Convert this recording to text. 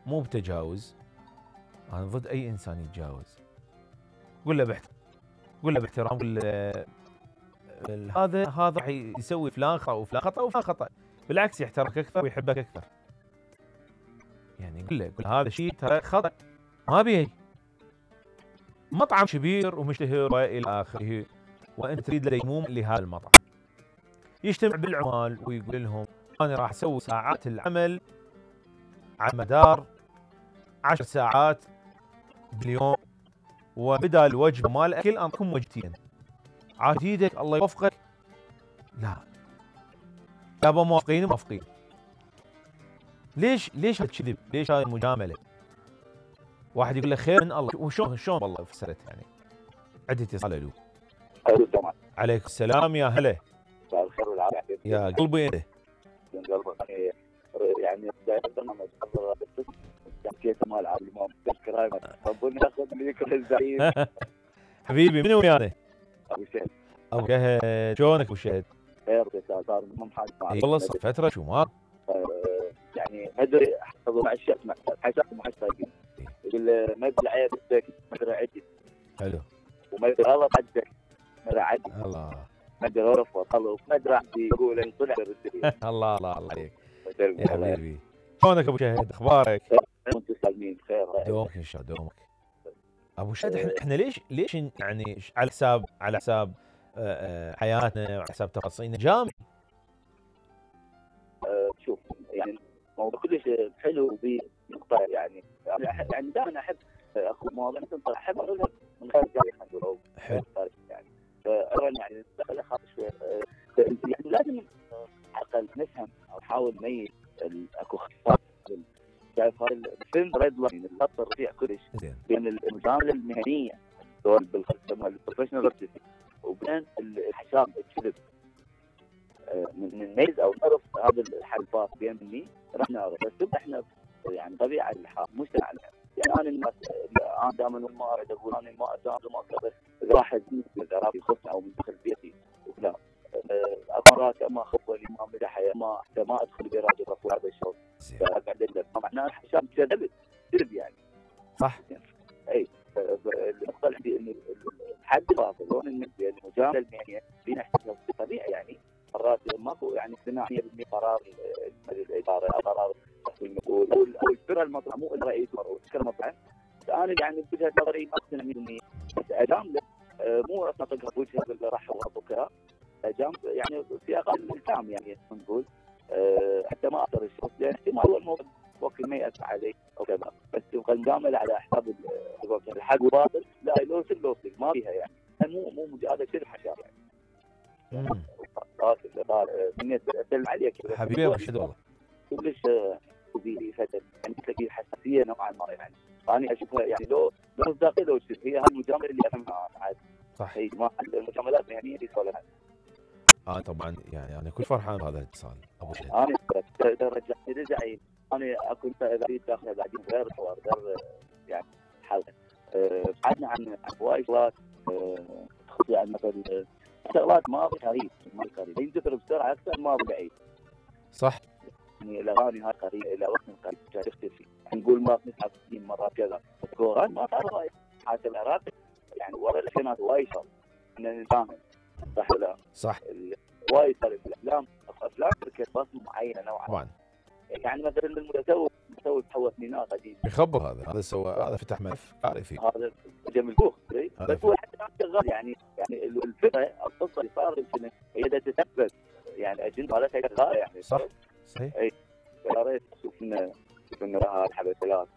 مو بتجاوز. انا ضد اي انسان يتجاوز. قول له باحترام، قول له باحترام، قول له هذا راح يسوي فلان خطا وفلان خطا وفلان خطا، بالعكس يحترمك اكثر ويحبك اكثر. يعني قول له هذا شيء ترى خطا، ما بيه مطعم كبير ومشتهر والى اخره وانت تريد ديموم لهذا المطعم. يجتمع بالعمال ويقول لهم انا راح اسوي ساعات العمل على مدار 10 ساعات باليوم، وبدال وجبه مال اكل انطيكم وجبتين. عاد ايدك الله يوفقك. لا يابا موافقين. ليش هذا الكذب؟ ليش هاي المجامله؟ واحد يقول له خير من الله، وشلون والله فسرت يعني. عندي اتصال. الو. عليكم السلام يا هلا. مساء الخير والعافيه يا قلبي انت. من قلبي يعني برنامج حكيت مال عبد الامام تذكر ربنا ياخذ ليك الزعيم. حبيبي منو ويانا؟ ابو شهد. ابو شهد شلونك ابو شهد؟ خير صار مو محاج اي والله صار فتره شو ما يعني ما ادري مع الشيخ حساب محسن يقول ما ادري عيب عندك ما ادري عدل. حلو. وما ادري غلط عندك ما ادري عدل. الله. ما ادري غرف وطلب ما ادري عندي يقول ان طلع بالرسالة. الله عليك يا حبيبي. شلونك ابو شهد؟ اخبارك؟ وانتم سالمين بخير. دومك ان شاء الله دومك. ابو شهد احنا ليش يعني على حساب حياتنا وعلى حساب تفاصيلنا جامد. شوف يعني موضوع كلش حلو وبي نقطة يعني دائما احب اخذ مواضيع تنطلع احب اقولها من غير تاريخ او يعني اولا يعني دخل خاطر شوي يعني لازم عقل نفهم او نحاول نميز اكو اختصار. شايف هذا الفيلم ريد لاين الخط الرفيع كلش بين المجامله المهنيه سواء بالخدمه البروفيشنال وبين الحساب الكذب. من نميز او نعرف هذا الحلفات بين مني راح نعرف. بس احنا يعني طبيعه الحال مجتمعنا يعني انا الناس انا دائما ما اريد اقول انا ما اساعد وما كذا اذا واحد من ذرافي يخصني او من داخل بيتي ولا مرات ما اخف لي ما مدح ما ادخل براجل رفض هذا الشغل فاقعد ادلل معناه الحساب كذب يعني صح. اي النقطه اللي عندي انه الحد الفاصل هون المجامله المهنيه فينا احتفال طبيعي يعني مرات ماكو يعني اقتناعيه ب قرار الاداره او قرار المسؤول او الفرع المطعم مو الرئيس او الفكره المطعم. انا يعني بوجهه نظري ما اقتنع مني بس اجامله مو اطلقها بوجهه اللي راح وكذا اجامله يعني في اقل الكلام يعني نقول حتى ما اثر الشخص لان احتمال هو الموضوع وقت ما ياثر علي او كذا. بس تبقى مجامله على حساب الحق وباطل لا لوسل ما فيها يعني مو هذا كذب حشار يعني. من اسلم عليك حبيبي ابو شهد والله كلش وبي فتره يعني تلاقي حساسيه نوعا ما يعني انا اشوفها يعني لو مصداقيه لو شفت هي هالمجامله اللي افهمها عاد صح. هي ما المجاملات يعني اللي صار طبعا يعني انا كل فرحان بهذا الاتصال ابو شهد. انا رجعي انا اكو اذا اريد داخله بعدين غير الحوار غير يعني حلقه بعدنا عن هواي شغلات تخص يعني مثلا شغلات ماضي قريب ينتظر بسرعه اكثر ماضي بعيد. صح. يعني الاغاني هاي قريبه الى وقت قريب تختفي نقول ما نسحب سنين مرات كذا الكوران ما صار هاي حتى العراق يعني ورا الالفينات وايد صار ان نفهم صح ولا صح. وايد صار الافلام تركت بصمه معينه نوعا طبعا يعني مثلا المتسوق تحول سنينات قديم يخبر هذا سوى هذا فتح ملف عارفين هذا جميل بوخ بس هو حتى شغال يعني الفكره القصه اللي صارت هي تتثبت يعني اجنده مالتها شغاله يعني صح صحيح. اي يا ريت شوفنا لها الحبسات